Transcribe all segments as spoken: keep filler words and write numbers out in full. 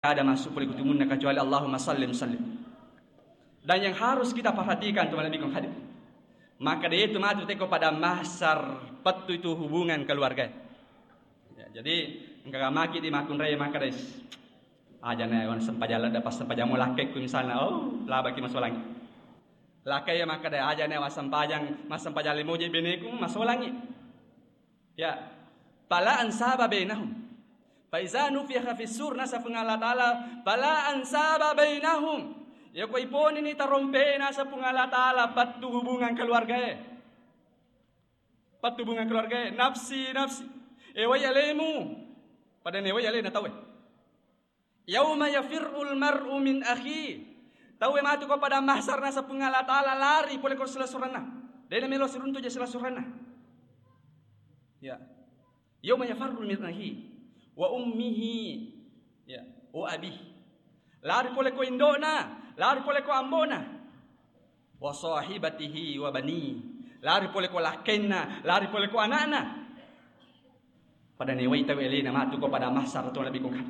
ada masuk pole kutumunna kecuali Allahumma sallim sallim. Dan yang harus kita perhatikan, teman nabiku hadir. Maka dia itu matu teko pada mahsar, pettu itu hubungan keluarga. Ya, jadi engka maki di makunrai maka dais. Aja ne wan sempajang ladda pas sempajang mo lakkekku misalna, oh, labaki masolangi. Lakkai ya maka dai aja ne wan sempajang, mas sempajang limoje beneku masolangi. Ya. Fala ansaba bainahum. Fa iza nufikha fis sur, nasa Puang Allah Ta'ala, fala ansaba bainahum. Ya ko iponini tarompe nasa Puang Allah Ta'ala, pattu hubungan keluargae. Pattu hubungan keluargae, nafsi, nafsi. E wai alemu. Pada ne wai alena tauwe. Yauma yafirrul mar'u min akhi. Tauwe matu ko pada mahsar nasa Puang Allah Ta'ala lari pole ko silessurenna. Dena melo siruntu je silessurenna. Ya. Yauma yafirrul min akhi wa ummihi. Ya, wa abi. Lari pole ko indona, lari pole ko ambona. Wa sahibatihi wa bani. Lari pole ko lakkenna, lari pole ko anakna. Pada newai tau elena matu ko pada mahsar to nabiku kan.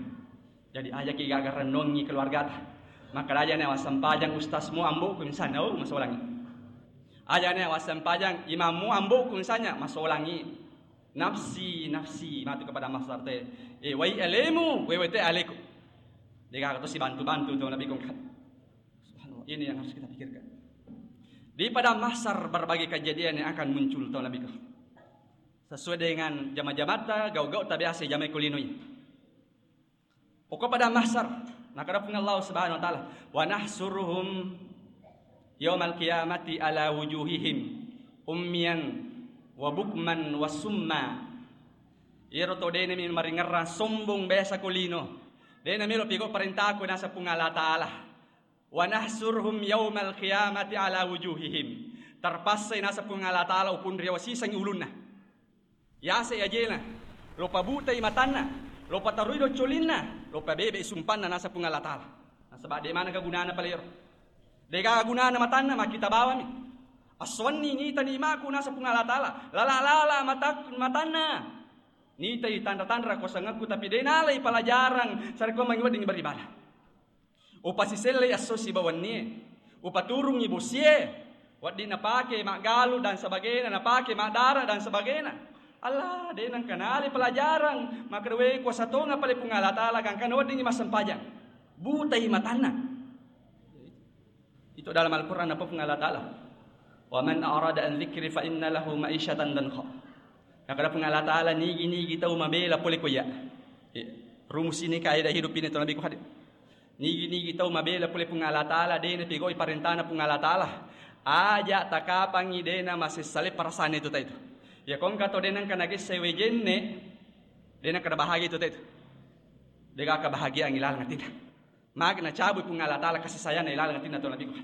Jadi aja ki gaga renungi keluargata. Maka aja ne wassempajang ustazmu amboku misalnya, oh, masolangi. Aja ne wassempajang imammu amboku misalnya, masolangi. Nafsi, nafsi, matu kepada mahsar te. Eh, wai alemu, wewe te aleku. Dega to si bantu-bantu to nabiku kan. Subhanallah, ini yang harus kita pikirkan. Di pada mahsar berbagai kejadian yang akan muncul to nabiku. Sesuai dengan jama-jamata, gau-gau tabiasa jamai kulinoi. Pokok pada mahsar, nakada Puang Allah Subhanahu wa Ta'ala, "Wa nahsuruhum yaumal qiyamati ala wujuhihim ummiyan wa bukman wa summa." Iyaro to dena mi maringerrang sombong biasa ko lino. Dena melo pigo parentaku nasa Puang Allah Ta'ala. "Wa nahsuruhum yaumal qiyamati ala wujuhihim." Terpaksa nasa Puang Allah Ta'ala upun riwa sisangi ulunna. Yase ajena, lo pabutai matanna, lo patarui doccolinna, lo pabebe sumpanna nasa Puang Allah Ta'ala. Nasaba de mana kegunana palero. Dega gunana matanna makita bawami. Aswanni nita nimaku nasa Puang Allah Ta'ala. Lala-lala matak-, matanna. Nitai tanra-tanra kuasangekku tapi de nalai pelajaran sarekko mangi wedding beribadah. Upasisellei esso sibawa wennie, upaturungngi bosie, wedding napake maggalu dan sebagainya, napake maddara dan sebagainya. Allah, de nengka nalai pelajaran, maka dewe kuasa tonga pale Puang Allah Ta'ala, gangkana weddingngi massempajang. Butai matanna. Itu dalam Al-Quran apa Puang Allah Ta'ala? "Wa man a'rada an dzikri fa inna lahu ma'isyatan dhanka." Nakada Puang Allah Ta'ala, nigi-nigi tau mabela pole ko iya. Iya. Rumus ini kaidah hidup ini to nabiku hadir. Nigi-nigi tau mabela pole Puang Allah Ta'ala, de napigoi parentana Puang Allah Ta'ala. Aja takapangi de na masessale parasane tu taitu. Ya kongka to de nengka nagesse wejenne, de nengka bahagia tu taitu. Dega kebahagiaan ilaleng atinna. Magi nacabui Puang Allah Ta'ala kasih sayangna ilaleng atinna to nabiku.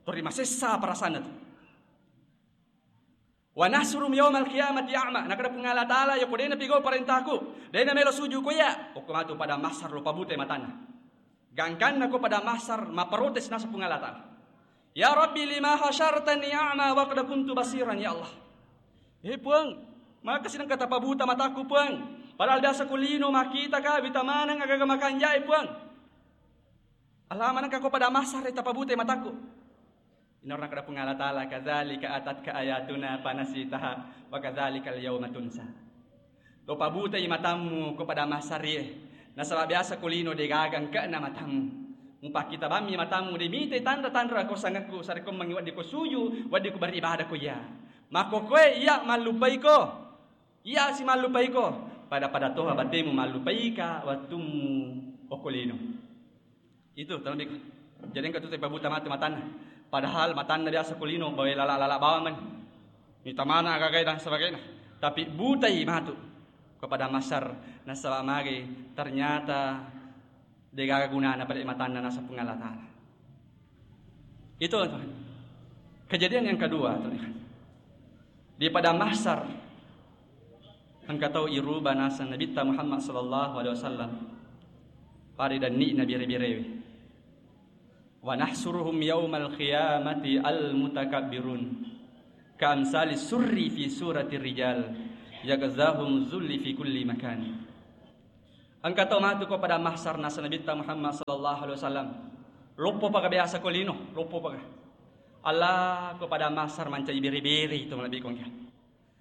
Tori masessa parasana tu. "Wa nahsurum yaumal qiyamati a'ma." Nakada Puang Allah Ta'ala, "Yako de napigau parentaku, de namelo suju ko iya, okko matu pada mahsar lo pabutai matanna." Gangkanna ko pada mahsar, maprotes nasa Puang Allah Ta'ala. "Ya Rabbi, lima hasyartani a'ma wa qad kuntu basiran, ya Allah." Eh, Puang, maka sidangka tapabuta mataku, Puang. Padahal biasa kulino makita ka, wita maneng agaga makanjai, Puang. Allah, manengka ko pada mahsar tapabutai mataku. Inarna kada Puang Allah Ta'ala, "Kadzalika atatka ayatuna fanasitaha wa kadzalikal yauma tunsa." Lo pabutai matammu ko pada mahsar e. Nasaba biasa ko lino de gaga engkana matammu. Mupakkita bammi matammu de mitai tanra-tanra ko sangekku sarekko mangi wedding ko suju, wedding ko beribadah ko iya. Makko koe iya mallupai ko. Iya si mallupai ko. Pada-pada toha batemu mallupai ka wettummu okko lino. Itu, tolong biko. Jadi engka tu pabuta matu matanna. Padahal matanna biasa kulino, bawa lala-lala bawang man. Mita mana agagai dan sebagainya. Tapi butai matu kepada mahsar, nasaba magi ternyata degaga gunana pada matanna nasa Puang Allah Ta'ala. Itu, teman. Kejadian yang kedua, teman. Di pada mahsar, engka tau iruba naseng Nabitta Muhammad sallallahu alaihi wasallam. Pada danni Nabi bere-berewe. "Wa nahsuruhum yaumal qiyamati al-mutakabbirun, ka amsali surri fi surati rijal, yagzahum zulli fi kulli makan." Engka to matu ko pada mahsar, nasa Nabitta Muhammad sallallahu alaihi wasallam. Loppo paga biasa ko lino, loppo paga. Allah, ko pada mahsar mancaji biri-biri to malebbi kongka.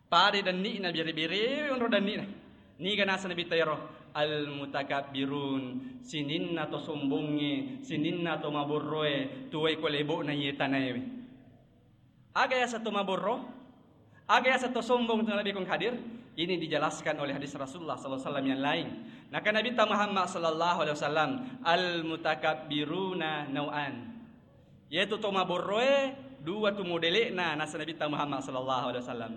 Pada denni'na biri-biri, onro denni'na. Niga nasa Nabitta ero? Al-mutakabbirun, sininna to sombongnge, sininna to maborroe, tuwai ko lebo'na iye tanaewe. Aga yaseng to maborro? Aga yaseng to sombong to Nabi kong hadir? Ini dijelaskan oleh hadis Rasulullah sallallahu alaihi wasallam yang lain. Naka Nabitta Muhammad sallallahu alaihi wasallam, al-mutakabbiruna nau'an. Yaitu to maborroe dua tu modele'na nasa Nabitta Muhammad sallallahu alaihi wasallam.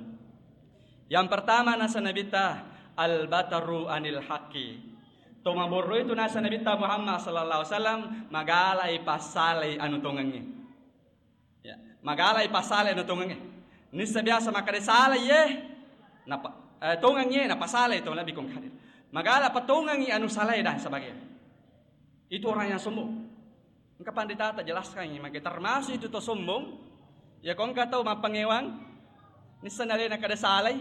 Yang pertama nasa Nabitta, al-bataru anil haqqi. To maborroe tu nasa Nabitta Muhammad sallallahu alaihi wasallam, magalai passalai anu tongengnge. Ya, magalai passalai anu tongengnge. Nissa biasa makkeda salai ye, napa, eh, tongengngi ye, napasalai to Nabi kong hadir. Magala patongengngi anu salai dan sebagainya. Itu orang yang sombong. Engka pandita ta jelaskan ini, maka termasuk itu to sombong. Ya, ko engka tau mappangewang, nissa nalena kada salai.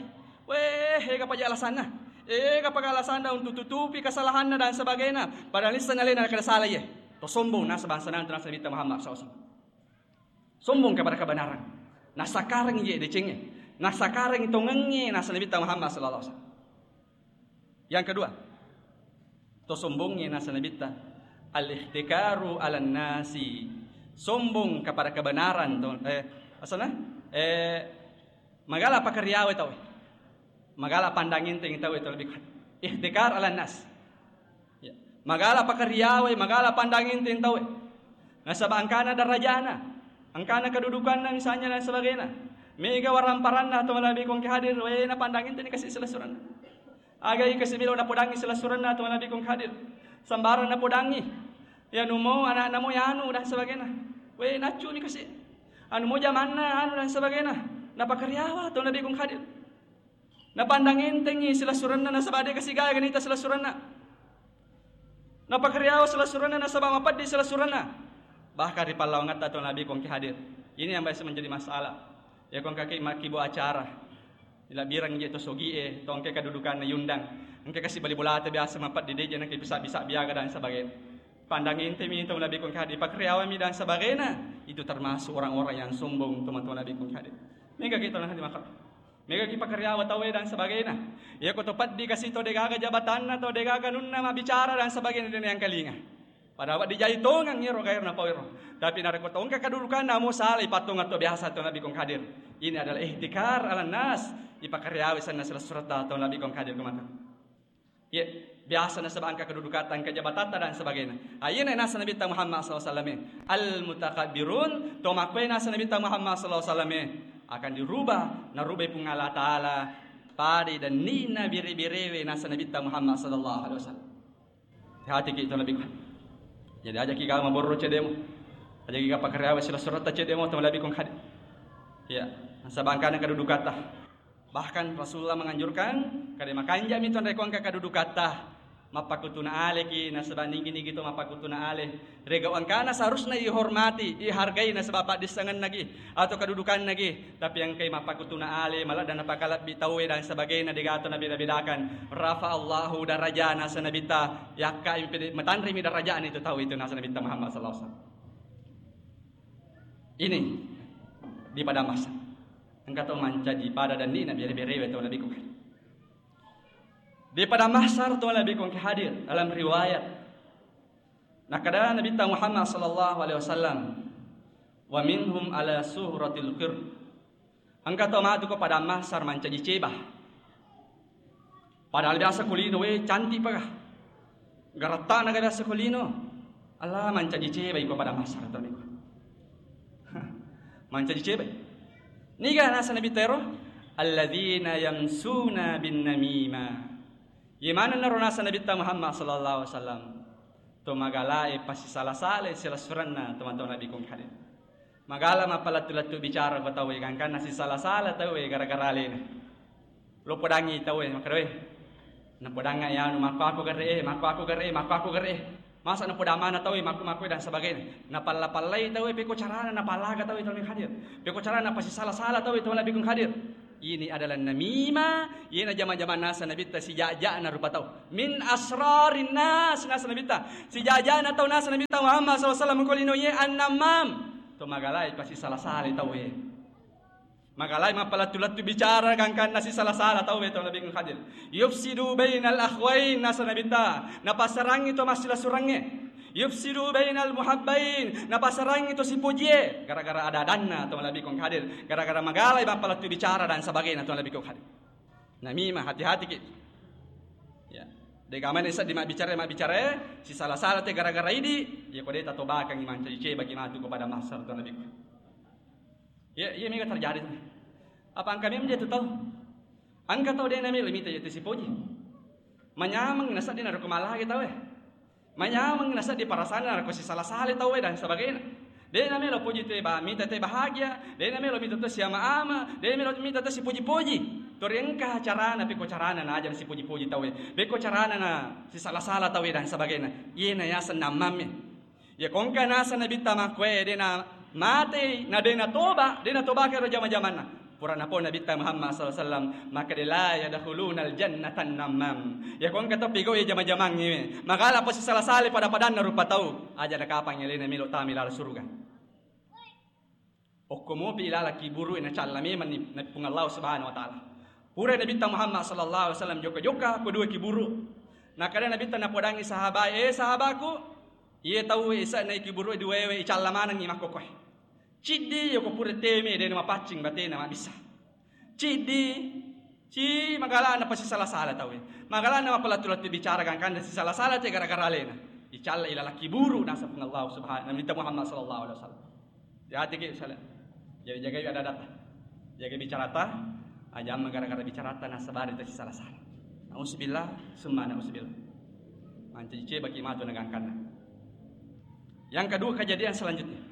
Weh, ega paja alasanna. Ega paja alasanna untuk tutupi kesalahanna dan sebagainya. Padahal nissa nalena kada salai ye. To sombong nasa bangsa nanti nasa Nabitta Muhammad sallallahu alaihi wasallam. Sombong kepada kebenaran. Nasakareng je decengnge. Nasakareng tongengnge nasa Nabitta Muhammad sallallahu alaihi wasallam. Yang kedua, to sombongnge nasa Nabitta, al-ihtikaru ala nasi. Sombong kepada kebenaran to, eh, asana? Eh, magala pakariawe tau. Magala pandang enteng tau itu lebih ihtikar ala nas. Ya. Magala pakariawe, magala pandang enteng tau. Nasaba engkana darajana, engkana kedudukanna misalnya dan sebagainya. Mega waramparanna to malebbi kong hadir, we na pandang enteng kasi silessurenna. Aga i kasi melo napodangi silessurenna to malebbi kong hadir. Sembarang napodangi. Ya numo anakna mo yanu dan sebagainya. We naccu mi kasi. Anu mo jamanna anu dan sebagainya. Napakariawa to malebbi kong hadir. Napandang entengngi silessurenna nasaba de kasi gaga nita silessurenna. Napakariawa silessurenna nasaba mapeddi silessurenna. Bahkan ri pallawangetta to Nabi kongki hadir. Ini yang biasa menjadi masalah. Ya kongka ki makkibo acara. Ilabbireng je to sogie, to engka kedudukanna yundang. Engka kasi bali bolata biasa mapeddi deje nengka bisa-bisa biaga dan sebagainya. Pandang entemi to Nabi kongki hadir. Pakariawami dan sebagainya. Itu termasuk orang-orang yang sombong to Nabi kongki hadir. Mega kita nanti makan. Mega ki pakariawa tauwe dan sebagainya. Iya ko to peddi kasi to degaga jabatanna to degaga nunna mabbicara dan sebagainya de naengkalinga. Padahal dijai tongeng iro gairna pau iro. Tapi narekko to engka kedudukanna mo salai pattongeng to biasa to Nabi kong hadir. Ini adalah ihtikar ala nas. Ipakariawa senna silessuretta to Nabi kong hadir kemata. Iya, biasa nasaba engka kedudukatta, engka jabatatta dan sebagainya. Ah, iyana nasa Nabitta Muhammad sallallahu alaihi wasallam. Al-mutakabbirun, to makkue nasa Nabitta Muhammad sallallahu alaihi wasallam akan dirubah, narubai Puang Allah Ta'ala pada denni'na bere-berewe nasa Nabitta Muhammad sallallahu alaihi wasallam. Hati-hati ki to Nabi. Jadi aja ki ga maborro cedemu. Aja ki ga pakariawa silessuretta cedemu to Nabi kong hadir. Iya, nasaba engkana kedudukatta. Bahkan Rasulullah menganjurkan, kada makanjami to rekko engka kedudukatta, mappakutuna aleki, nasaba nigi-nigi to mappakutuna ale. Rega engkana seharusna ihormati, ihargai nasaba paddissengennaki atau kedudukannaki, tapi engkai mappakutuna ale, maladda napakalebbi tauwe dan sebagainya, degato nabeda-bedakan. Rafa Allahu darajana sanabitta, yakka impede matanrimi darajana itu tau itu nasa Nabitta Muhammad sallallahu alaihi wasallam. Ini di pada masa. Engka to mancaji pada denni'na bere-berewe to Nabi kong hadir. Di pada mahsar to Nabi kong hadir dalam riwayat. Nakada Nabitta Muhammad sallallahu alaihi wasallam, "Wa minhum ala suratil qir." Engka to matu ko pada mahsar mancaji ceba. Padahal biasa ko lino, we, cantik paga. Garattana ga biasa ko lino. Allah mancaji ceba iko pada mahsar to niko. Mancaji ceba. Niga nasa Nabitta ero? Alladzina yamsuna bin namima. Ye manenna ro nasa Nabitta Muhammad sallallahu alaihi wasallam. To magalae pasisala-sala silessurenna to mantau Nabi kong hadir. Magala mappalettu-lettu bicara ko tauwe, gangkanna sisala-sala tauwe gara-gara alena. Lo podangi tauwe, makkeda, "We, napodangnga yanu, makko aku gare e, makko aku gare e, makko aku gare e." Masa napodang mana tauwe, makko-makko dan sebagainya. Napalla-pallai tauwe, peko carana napallaga tauwe to Nabi kong hadir. Peko carana napasisala-sala tauwe to Nabi kong hadir. Ini adalah namimah, iyena jama-jama nasa Nabitta sijajana rupa tau. Min asrarin nas nasa Nabitta. Sijajana tau nasa Nabitta Muhammad sallallahu alaihi wasallam ko lino ye an-namam. To magalai pasi sala-sala tau ye. Magalai mappalettu-lettu bicara gangkanna sisala-sala tau ye to Nabi Khadir. Yufsidu bainal akhwain nasa Nabitta. Napasarangi to massila-surangnge. Yufsidu bainal muhabbain, napasarangi to sipojie, gara-gara ada-adanna to malebbi kong hadir, gara-gara magalai mappalettu bicara dan sebagainya to malebbi kong hadir. Namimah, hati-hati ki. Ya. De gamane seddi mabbicara, mabbicara, sisala-sala te gara-gara idi, ya ko de tatobakangi mancaji cebaki matu kepada mahsar to malebbi. Ya, iya mega terjadi tu. Apa engka memang dia tu tau? Engka tau de namelo mita ya tu sipoji. Manyameng naseddi naruko malagi tau e. Manyameng naseddi parasana naruko sisala-sala tau e dan sebagainya. De namelo poji te ba mita te bahagia, de namelo mita tu siama-ama, de namelo mita tu sipoji-poji. Tori engka carana, peko carana na aja sipoji-poji tau e. Peko carana na sisala-sala tau e dan sebagainya. Iyena yaseng nammamme. Ya kongka nasa Nabitta makkoe de na matei, na de na toba, de na toba kero jama-jamanna. Pura napo Nabitta Muhammad sallallahu alaihi wasallam, maka de la yadkhulunal jannatan namam. Ya kongka to pigau ya jama-jamangnge. Magala pasi sala-sala pada-padanna rupa tau. Aja na kapang elena melo tami lala suruga. Okko mopi ilala kiburu e nacalla memanni na Puang Allah Subhanahu wa Ta'ala. Pura Nabitta Muhammad sallallahu alaihi wasallam jokka-jokka ko dua kiburu. Nakada Nabitta napodangi sahabat, "Eh sahabatku, iye tau isa na kiburu e dua we icalla manengi makkokoe. Ciddi yoko pura teme de mapaccing batena mabissa. Ciddi, ci magala na pasi sala-sala tau e. Magala na mapalattu-lattu bicara gangkanna sisala-sala te gara-gara alena. Icalla ilala kiburu nasa Puang Allah Subhanahu Nabitta Muhammad sallallahu alaihi wasallam." Hati-hati ki misalnya. Jadi jagai ada-adata. Jagai bicarata. Aja amma gara-gara bicarata nasabari ta sisala-sala. Nauzubillah, summa nauzubillah. Mancaji cebaki matu na gangkanna. Yang kedua kejadian selanjutnya.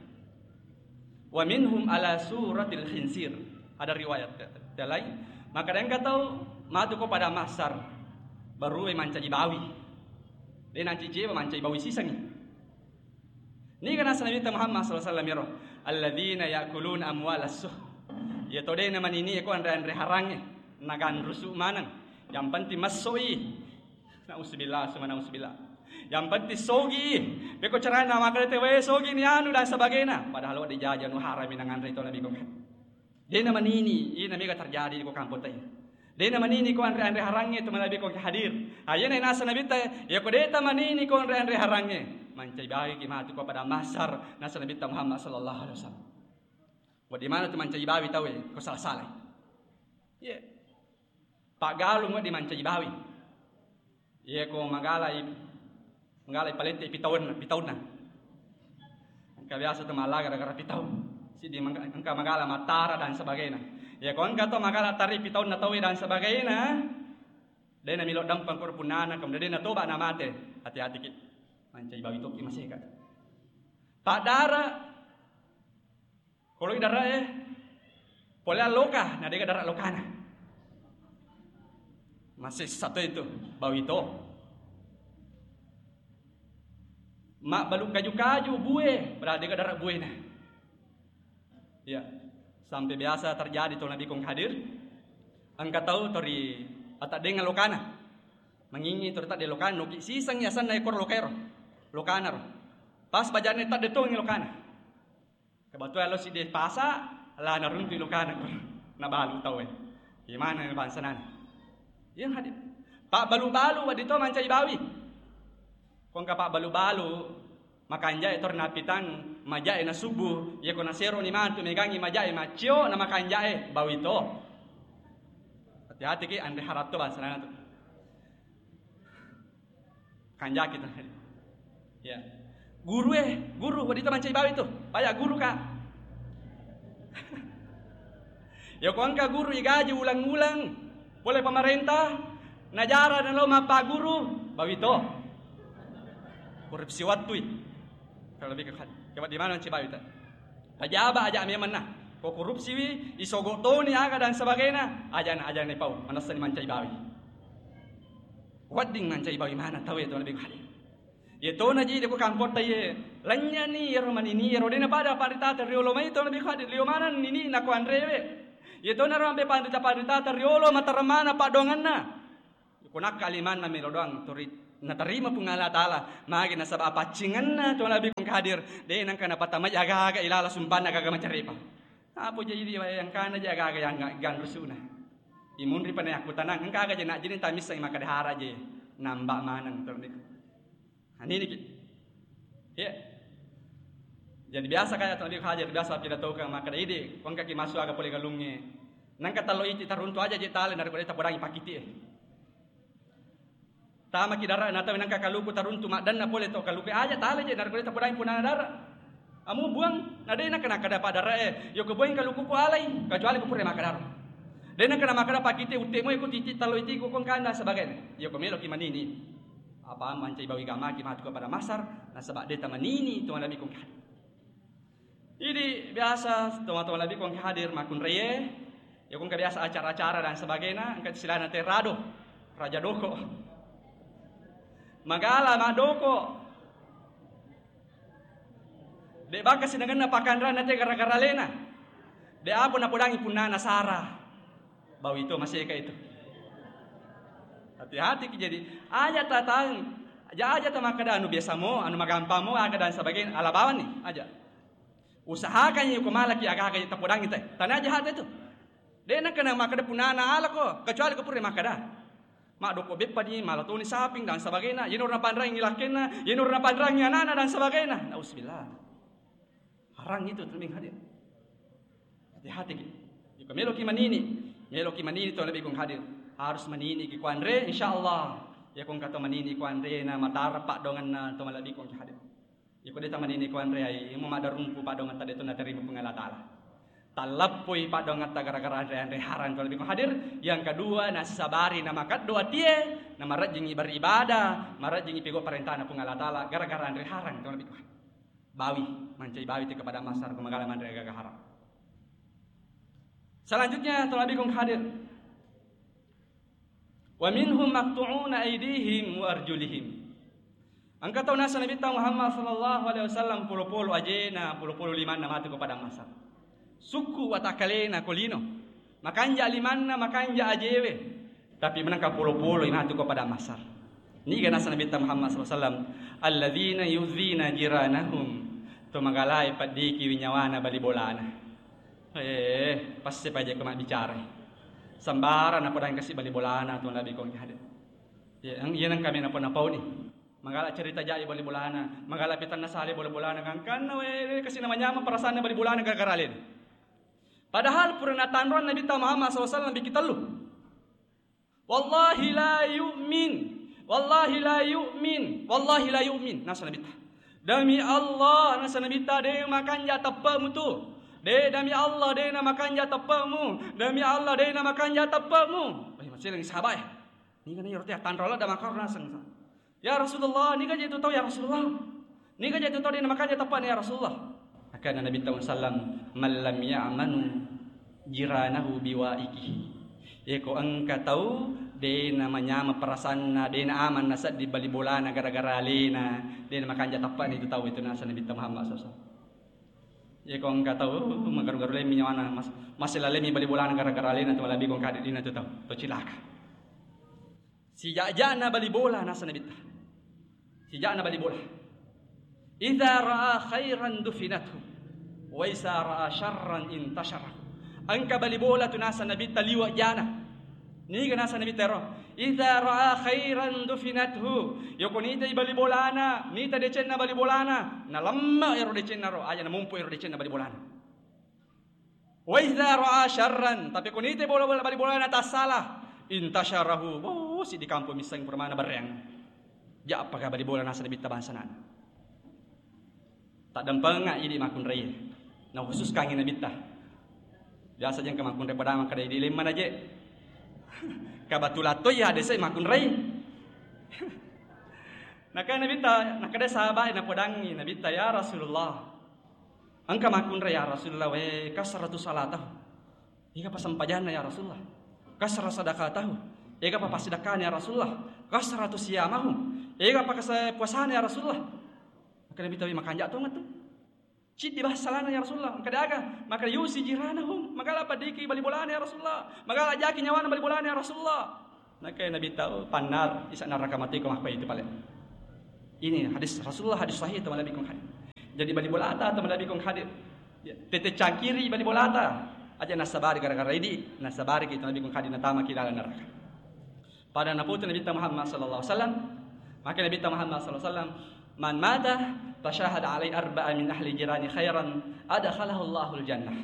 Wa minhum ala suratil khinsir. Ada riwayat te-, te lain. Maka engka tau matu ko pada mahsar. Baru mancaji bawi. De nanci ceba mancaji bawi sisangi. Niga nasa Nabitta Muhammad sallallahu alaihi wasallam ero, "Alladzina ya'kuluna amwalas suh." Iya to de na manini ko anre-anre harangnge, naganrusu maneng. Yang penting massoi. Nauzubillah, summa nauzubillah. Yang penting sogi. Beko carana makale te wae sogi ni anu dan sebagainya. Padahal wadi jaja nu harami nanganre to Nabi kong. Dena manini, ina mega terjadi ko kampong tai. Dena manini ko anre-anre harangnge to malebbi ko hadir. Ayena nasa Nabitta, ya ko deta manini ko anre-anre harangnge. Mancai bawi ki matu ko pada mahsar nasa Nabitta Muhammad sallallahu alaihi wasallam. Wadi mana tu mancai bawi tau e, ko salah-salah. Iya. Paggalung di mancai bawi. Iya ko magalai, magalai palette pitaunna, pitaunna. Engka biasa tu mala gara-gara pitau. Sidi mangka-, engka magala matara dan sebagainya. Iya ko engka to magala tari pitaunna tau dan sebagainya. Dena milo dampang kor punnana, kemudian dena toba na mate. Hati-hati ki. Mancai bawi toki maseka. Padara Koloi dara e, pole alloka, na dega dara lokana. Masessa to itu, bawi to. Mabbalu kaju-kaju bue, padahal dega dara buena. Ya, sampai biasa terjadi to Nabi kong hadir. Engka tau tori ataddenga lokana. Mangingi tori tadde lokana, noki siseng yasanna ekor lokaero. Lokana ro. Pas bajane tadde tongi lokana. Kebetulan lo siddi pasa, la naruntu lokana ko. Nabalu tau e. Gimana bangsa nana? Yang hadir. Pak balu-balu wadi to mancai bawi. Kongka pak balu-balu, makanjai tor napitang, majai na subuh, iya ko nasero ni mantu megangi majai macio na makanjai bawi to. Hati-hati ki anre haratto bangsa nana tu. Kanjaki tu. Ya. Guru eh, guru, wadita mancai bawi tu. Paya guru ka. Ya ko engka guru igaji ulang-ulang, pole pemerintah, najara nalo mappaguru, bawi to. Korupsi wattui. Kalau lebih ke, coba di mana mancai bawi ta? Pajaba aja memang nah. Ko korupsi wi, isogo toni aga dan sebagainya, aja na, aja na pau, manessa ni mancai bawi. Wedding mancai bawi mana tau e to Nabi Khadir. Ye to na ji de ko kampotta ye, lanyani yero manini yero dena pada paritata riolo mai to Nabi Khadir, lio mana nini na ko anrewe. Iyatonaro ampe panrita-panritata riolo mataremana paddoangenna. Ko nakka limanna melo doang turi natarima Puang Allah Taala. Magi nasaba apaccingenna to Nabi kong hadir. De nangka napatamaji aga-aga ilala sumbanna aga-aga macarepa. Apa jadi di wayang kana je aga-aga yang ganrusuna. Imunri pa na yakkutanang, engka aga je najini tamisseng makkeda hara je. Nambah maneng to Nabi. Nah, ini ki. Ya. Jadi biasa kaya to Nabi hadir, biasa pidatokang makkeda idi, ko engkaki massu aga pole galungnge. Nangka tallo iti taruntu aja je tale narekko de tapodangi pakiti e. Tamaki dara na tau nangka kaluku taruntu maddanna pole to kaluku aja tale je narekko de tapodangi punana dara. Amu buang, na de nangka nakkeda pa dara e, yo ko buang kaluku ko alai, kecuali ko pura makkeda dara. De nangka na makkeda pakiti utte mo ko titi tallo iti ko kongkana sebagainya. Yo ko meloki manini. Apa mancai bawi gamaki matu kepada masar, nasaba de tamanini to Nabi kong hadir. Idi biasa toma-toma Nabi kong hadir makkunraie, ya kong biasa acara-acara dan sebagainya, engka istilahna te rado, raja doko. Magala madoko. De baka sinengenna pakanrana te gara-gara lena. De apa napodangi punnana sara. Bawi to maseka itu. Hati-hati ki jadi aja tatang, aja aja tamakkeda anu biasa mo, anu magampang mo, aga dan sebagainya, ala bawang ni aja. Usahakan ko malaki aga-aga tapodangi te. Tana aja hati itu. De nangka na makkeda punana ala ko, kecuali ko pura makkeda. Maddoko beppa ni, mala toni saping dan sebagainya. Yeno na panrangi lakkenna, yeno na panrangi anana dan sebagainya. Nauzubillah. Harang itu tembing hadir. Hati-hati ki. Jika meloki manini, meloki manini to Nabi kong hadir. Harus manini ki kuanre, insyaallah. Ya kong kata manini kuanre na matara paddoangenna to Nabi kong hadir. Iko de tamanini kuanre ai, imo maddarumpu paddoangetta de to naterima Puang Allah Taala. Tallappoi paddoangetta gara-gara anre-anre harang to Nabi kong hadir. Yang kedua, nasabari na makeddo atie, na marajjingi beribadah, marajjingi pego parentana Puang Allah Taala gara-gara anre harang to Nabi kong hadir. Bawi, mancai bawi te kepada masar ko magala manre aga-aga harang. Selanjutnya to Nabi kong hadir. Wa minhum maqtu'una aidihim wa arjulihim. Engka tau nasa Nabitta Muhammad sallallahu alaihi wasallam polo-polo ajena, polo-polo limanna matu ko padang mahsyar. Sukku watakkalena ko lino. Makanja limanna, makanja ajewe. Tapi menengka polo-polo matu ko padang mahsyar. Niga nasa Nabitta Muhammad sallallahu alaihi wasallam, "Alladzina yu'dzina jiranahum." To magalai paddiki winyawana bali bolana. Eh, passe paja ko mabbicara. Sambara napodangi kasi bali bolana to Nabi kong hadir. Ya, ang-, iya nang kami napa-napau ni. Magala cerita jai bali bolana, magala pitanna sale bali bolana, gangkanna we kasi namanyameng perasaanna bali bolana gara-gara alena. Padahal pura natanroang Nabitta Muhammad sallallahu alaihi wasallam biki tellu. "Wallahi la yu'min, wallahi la yu'min, wallahi la yu'min," nasa Nabitta. "Demi Allah," nasa Nabitta, "de makanja teppe'mu tu. De, demi Allah, de na makanja teppe'mu. Demi Allah, de na makanja teppe'mu." Eh, maselengi sahabat e. Niga na iyaro te attanro ladde makkaro naseng. "Ya Rasulullah, niga je tu tau ya Rasulullah? Niga je tu tau de na makanja teppe'na ya Rasulullah?" Akkana Nabitta sallam, "Man lam ya'manu jiranahu biwa'ikihi." Eko engka tau de na manyameng perasanna, de na aman nasedding bali bolana gara-gara alena, de na makanja teppe'na itu tau itu nasa Nabitta Muhammad sallallahu alaihi wasallam. Eko engka tau magaru-garu lemmi nyawana, mas-, masela lemmi bali bolana gara-gara alena tu malabi kong kade dina tu tau, to cilaka. Sija'ja'na bali bola nasa Nabitta. Sija'na bali bola. "Idza ra'a khairan dufinathu, wa idza ra'a syarran intashara." Engka bali bola tu nasa Nabitta liwa jana. Niga nasa Nabitta ero? "Idza ra'a khairan dufinathu." Yoko nitai bali bolana, nita decenna bali bolana, nalemma ero decenna ro, aja namumpu ero decenna bali bolana. "Wa idza ra'a syarran," tapi ko nite bola-bola bali bolana tassala, "intasharahu." Oh, si di kampung misseng pura mana bereng. Ja'pa ka bali bola nasa Nabitta bangsa nana. Taddampenga idi makkunrai. Na khusus kangi Nabitta. Biasa jeng ka makkunrai padama kada idi lemma na je. Ka batula to ya desa makkunrai. Naka Nabitta, nakada sahabat napodangi Nabitta, "Ya Rasulullah." Engka makkunrai, "Ya Rasulullah, we, kasratu salatahu." Ega pa sempajanna, ya Rasulullah? "Kasra sadaqatahu." Ega pa passidakkana, ya Rasulullah? "Kasratu siyamahu." Ega pa kasa-, puasana, ya Rasulullah? Maka Nabitta, "We, makanja tongeng tu." Ciddi bahasa salana ya Rasulullah. Makkeda aga? Makkeda yusi jiranahum. Magala paddiki bali bolana ya Rasulullah. Magala jaki nyawana bali bolana ya Rasulullah. Nakke Nabitta, "Oh, pannar, isa naraka matiko makko itu pale." Ini hadis Rasulullah, hadis sahih, teman Nabi kong hadir. Jadi bali bolata, teman Nabi kong hadir. Ya, tete cangkiri bali bolata. Aja nasabari gara-gara idi, nasabari kita Nabi kong hadir natama ki dalam neraka. Pada naputu Nabitta Muhammad sallallahu alaihi wasallam, maka Nabitta Muhammad sallallahu alaihi wasallam, "Man mata fasyahada alai arba'a min ahli jirani khairan, adkhalahu Allahul jannah."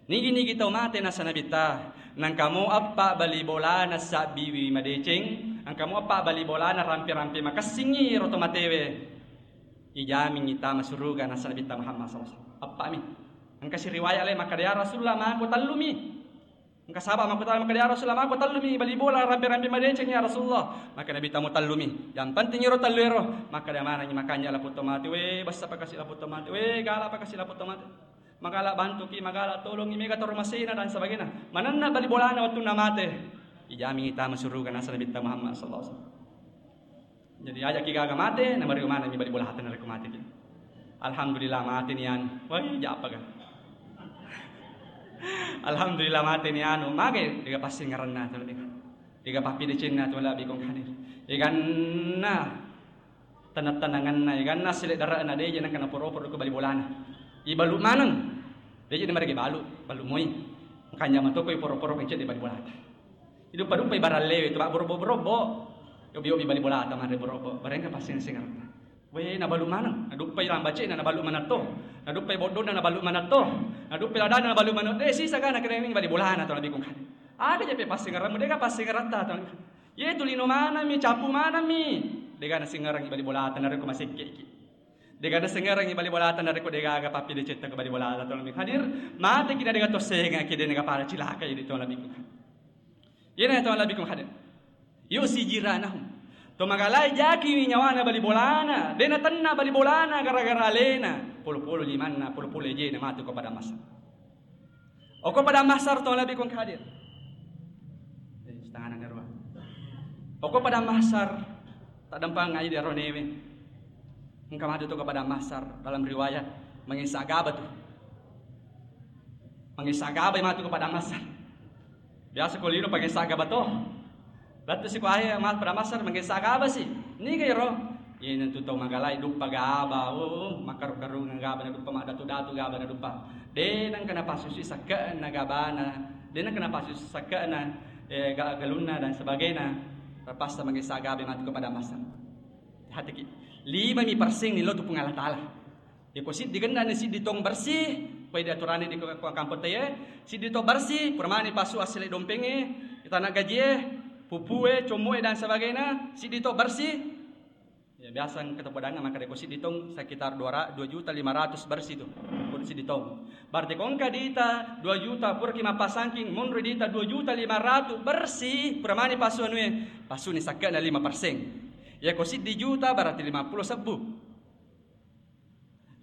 Nigi-nigi tau mate nasa Nabitta, nangkamo eppa bali bolana sabbiwi madeceng, nangkamo eppa bali bolana rampe-rampe makessingi ro to matewe, ijamingi tama suruga nasa Nabitta Muhammad sallallahu alaihi wasallam. Eppa mi. Engka si riwayat le makkeda, "Ya Rasulullah, mako tellumi." Engka saba makkutana makkeda, "Ya Rasulullah, mako tellumi bali bola rampe-rampe madeceng ya Rasulullah." Maka Nabitta, "Mutellumi. Yang penting ero tellu ero." Makkeda manengi makanja laputto mate, "We, bessa pakasi laputto mate, we, gala pakasi laputto mate. Magala bantuki, magala tolongi, mega toro masena dan sebagainya." Manenna bali bolana wettunna mate. Ijamingi tama suruga nasa Nabitta Muhammad sallallahu alaihi wasallam. Jadi ajaki gaga mate, na mario manenni bali bolata narekko mateki. Alhamdulillah mate ni anu. Wai, japaga. Alhamdulillah mate ni anu, mage dega passingeranna tu lebih. Dega pappidecenna tu lebih kong hadir. Eganna tenang-tenanganna, eganna sileddarana deje nangka naporo-poro ko bali bolana. Ibalu maneng. Deje marege balu, balu moi. Kanjama toko iporo-poro kencet di bali bolata. Iduppa-duppai barallewe tu, mabborobbo-borobbo. Yobi-yobi bali bolata manre borobbo. Barengka passing-singeratta. We, nabalu maneng. Naduppai lambacena nabalu manetto. Naduppai boddonna nabalu manetto. Naduppai ladana nabalu manetto. Eh, sisa kana kerening bali bolana to nabi kong kade. Aga jepe passingerammu, dega passingeratta to. Ye tu lino manami, capu manami. Dega nasingerangi bali bolata narekko masekkeki. Dega nasingerangi bali bolata narekko dega aga pappidecetta ke bali bolata to nabi hadir. Mate kina dega tossengaki, dega pada cilaka idi to nabi kong kade. Iyena to nabi kong hadir. Yusi jiranahum. To magalai jaki nyawana bali bolana, de natenna bali bolana gara-gara alena, polo-polo limanna, polo-polo ejena matu ko pada masa. Oko pada masar to nabi kong hadir. Eh, setengah nang ruang. Oko pada masar, tak dempang aja di aronewe. Engka matu to ko pada masar, dalam riwayat, mangessa gaba tu. Mangessa gaba matu ko pada masar. Biasa ko lino pake sagaba to. Lettu si ko ahe ma-, pada masar mangessa gaba si. Niga iro? Iyena tu tau magalai duppa gaba, oh, makkaru-karunga gaba na duppa, madatu-datu gaba na duppa. De nengka napassusui sakke'na gabana. De nengka napassusui sakke'na, eh, ga-, galunna dan sebagainya. Terpaksa mangessa gaba matu ko pada masar. Hatiki. Lima mi perseng ni lo tu Puang Allah Taala. Yako siddi genna ni siddi tong bersih, koi di aturan di ko-, ko-, kampung teye, siddi to bersih, pura mani pasu asli dompengnge, itana gajie, pupue, commue dan sebagainya, siddi to bersih. Ya, biasa engka to podang maka deko siddi tong sekitar dua ra-, dua juta lima ratus bersih tu. Ko siddi tong. Berarti ko engka dita dua juta puraki mappasangking, monro dita dua juta lima ratus bersih, pura mani pasu anue, pasu ni sakke'na lima persen. Yako siddi juta berarti lima puluh sebbu.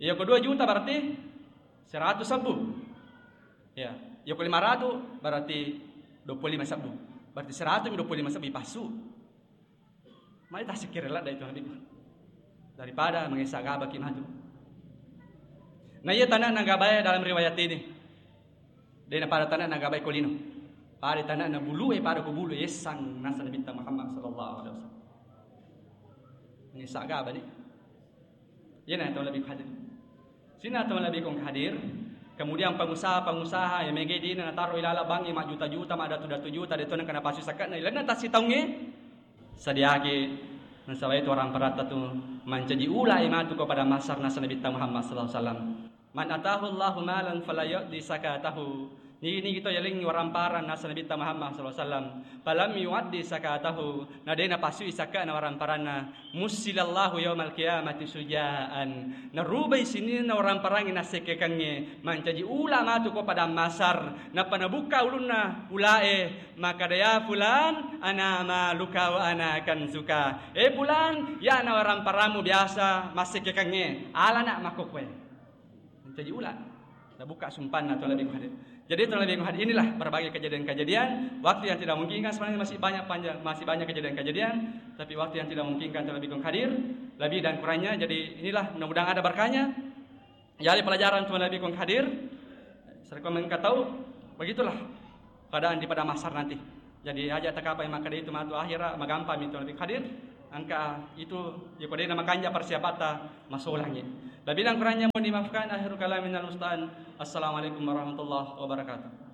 Iya ko dua juta berarti seratus sebbu. Ya, iya ko lima ratus berarti dua puluh lima sebbu. Berarti seratus dua puluh lima sebbu ipassu. Mari tasikir ladda itu nabi. Daripada mangessa gaba ki matu. Nah, iya tanah nagabae dalam riwayat ini. Dena pada tanah nagabai ko lino. Pada tanah na bulu e, pada ko bulu e, sang nasa Nabi Muhammad sallallahu alaihi wasallam. Ini saga bani. Iya na tau lebih hadir. Sina tau lebih kong hadir. Kemudian pengusaha-pengusaha yang mege dina nataro ilala bangi ma juta-juta, ma datu-datu juta, de tona kena pasu sakana ilana tasi taunge. Sadiaki nasaba itu orang paratta tu mancaji ula imatu kepada masar nasa Nabi Muhammad sallallahu alaihi wasallam. Man atahu Allahu malan fala yu'ti zakatahu. Nigi-nigi to yalengngi waramparang nasa Nabitta Muhammad sallallahu alaihi wasallam, falam yu'addi zakatahu, na de napasui sakana waramparanna, mussilallahu yaumal qiyamati sujaan. Narubai sininna waramparangnge nassekkekengnge, mancaji ula matu ko padang masar, nappa nabukka ulunna ulae, makkada, "Ya fulan, ana maluka wa ana kanzuka." Eh fulan, yana waramparammu biasa massekkekengnge, alana makkokkoe. Mencaji ula. Nabuka sumpanna to lebih hadir. Jadi to lebih hadir, inilah berbagai kejadian-kejadian. Waktu yang tidak memungkinkan, sebenarnya masih banyak panjang, masih banyak kejadian-kejadian. Tapi waktu yang tidak memungkinkan to lebih hadir, lebih dan kurangnya. Jadi inilah, mudah-mudahan ada berkahnya. Jadi pelajaran tu nabi kong hadir, serikong mengkatau, begitulah keadaan di padang mahsyar nanti. Jadi aja takapai maka itu matu akhira magampang itu nabi hadir, angka itu ya kode nama kanja persiapata masuk langit. Lebih dan kurangnya mohon dimaafkan, akhirul kalam minal musta'an. Assalamualaikum warahmatullahi wabarakatuh.